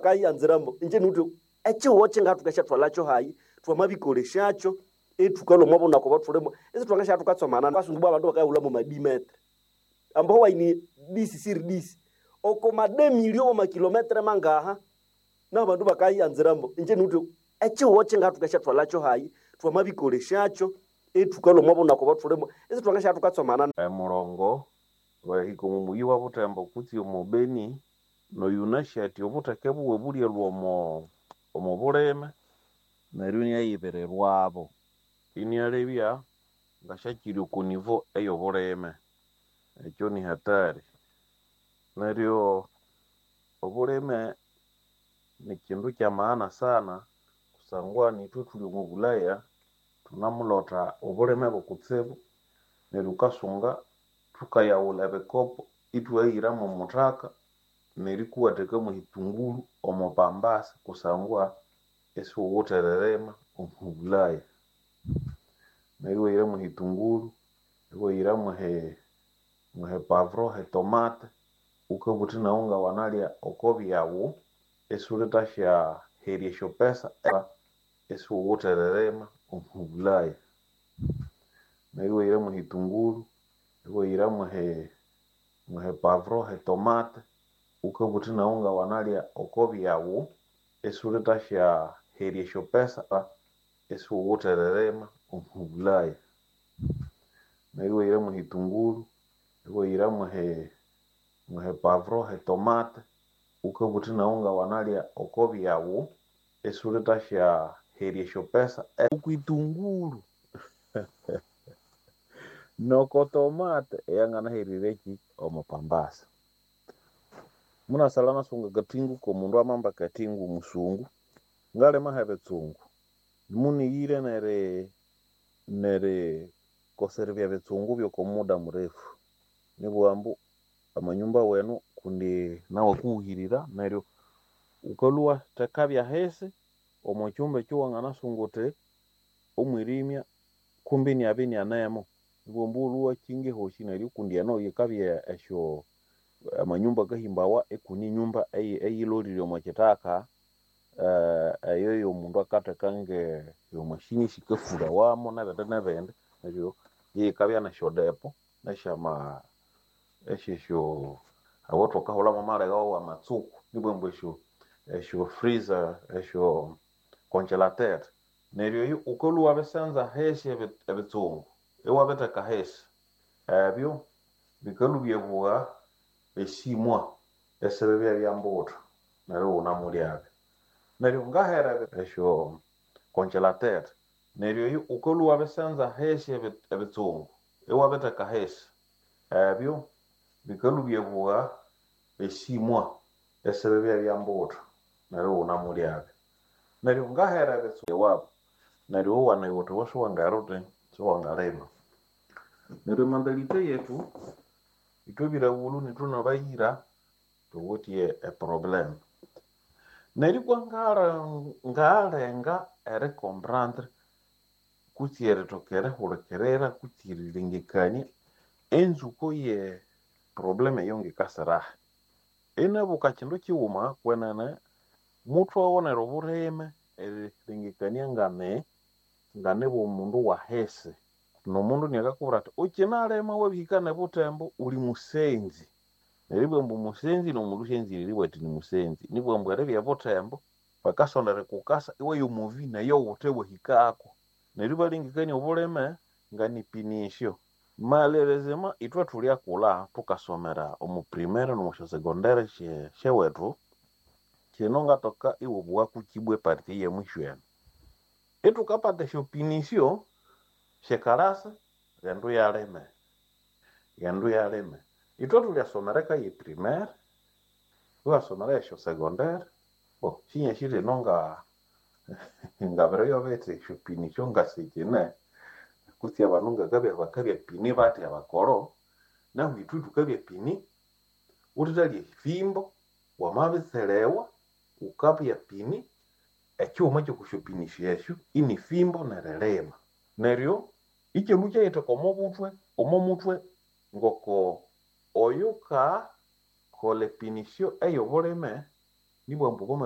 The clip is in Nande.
Kayanziramo inje nuti echihuho chingathuka hayi twamabikoleshakyo ithukalwa omwa bunaku obwathulimo isi thwangasya abasungu bwa abandu bakayahulha mo madimetre ambo waini disi siri disi oko mademilio wamakilometre mangaha nabandu bakayanziramo inje nuti echihuho chingathuka hayi twamabikoleshakyo ithukalwa omwa bunaku obwathulimo isi thwangasya Emurongo wahika omo muyi wa Butembo kutse omo Beni noyunasi athi obutheke buwe bulyalhwa omo bulime neryo iniayibirirwabo inialebya ngasyakyiri oko nivo eyobulime. Ekyo ni hatari. Neryo obulime nikyindu kyamaana sana kusangwa nithwe thuli omo Bulaya thunamulotha obulime bukutsibu neryo wukasunga thukayaghulha ebikopo ithwahira mwomuthaka nerikuwatheka mwehitunguru omo pambasi kusangwa isiwuwithe eririma omo Bulaya. Neryo iwahira mwehitunguru, iwahira mwehe pavuro, hetomate, wukabugha wuthi naghu ngawanalya oko byaghu isiwulithasyaherya esyopesa isiwuwithe eririma omo Bulaya. Neryo iwahira mwehitunguru, iwahira mwehe pavuro, hetomate, wukabugha wuthi naghu ngawanalya oko byaghu isiwulithasyaherya esyopesa isiwuwithe eririma omo Bulaya. Neryo iwahira mwehitunguru, iwahira mwehe pavuro, hetomate, wukabugha wuthi naghu ngawanalya oko byaghu isiwulithasyaherya esyopesa okwitunguru noko tomate eyanganaherire omo pambasi. Munasalha nasunga akatingu komundu amamba akatingu musungu ngalima hebitsungu munighire nerikosera ebyabitsungu byoko muda murefu nibugha ambu amanyumba wenu kundi nawu akuhuhirira neryo wukalhwa iwathekabya ahisi omo kyumba ekyo wanganasunga wuthi omwirimya kumbi inabya inianemo nibugha ambu wulhwe iwakyinga ehosi neryo kundi eno yikabya esyo amanyumba akahimbawa ikune enyumba eyilholire omo kyithaka eyo yomundu akatheka nge mashini esikafurawamu nebindi nebindi neryo yikabya nesyodepo nesyama esyesyo aho thukahulhamu amaleghe awamatsuku nibugha ambu esyo freezer esyo congelateur neryo eyo wukalhwa iwabisanza ahisi ebitsungu iwabitheka ahisi ebyo bikalhwa ibyabugha esimwa esibibya byambuthu neryo iwunamulyabyo. Neryo ngahera esyo congelateur neryo eyo wukalhwa iwabisanza ahisi ebitsungu iwabitheka ahisi ebyo bikalhwa ibyabugha esimwa esibibya byambuthu neryo iwunamulyabyo. Neryo ngahera ewabu neryo iwawanaya wuthi iwe siwangera wuthi siwangalima. Neryo emantalite yethu ithwe ebiraghulhu nithwe nabayira thuwithe e problem. Neryo ibwa ngalenga erikomprendre kutse erithoka erihulikirira kutse erilengekania enzuko ye problem eyo ngikasirahi. Inabuka kyindu kyighuma kwenene muthwaghonera obulime erilengekania ngane bwomundu wahisi. Nomundu inakakubwira athi wukyinalima wabihika nebuthembo wuli musenzi. Neribugha ambu musenzi nomundu syenzire eribugha athi nimusenzi. Nibugha ambu eribya ebuthembo bakasonda erikukasa iwaya omuvi neyo wuthe wahikako. Neryo ibalengekania obulime nganipinisyo. Malerezema ithwe thulyakulha thukasomera omo primary nomo syasecondary syewethu kino ngatoka iwabughaku kibwa epart eyemwisho eno. Ithukapata esyopinisyo syekalasa ghendu yalime, ghendu yalime. Ithwe thulyasomera eka ye primary, iwasomera esyo secondary, bo sinyasi lino ngabiriyo bithi esyopinisyo ngasikyine kutse abandu ngakabya bakabya pini bathi abakolho nahu ithwe thukabya pini wuthithalya efimbo wamabitselewa wukabya pini ekyighuma kyokusyopinisyo esyo ini fimbo nerilima. Neryo ikyindu kyayitheka omo muthwe ngoko oyukakolha epinisyo eyobulime nibugha ambu.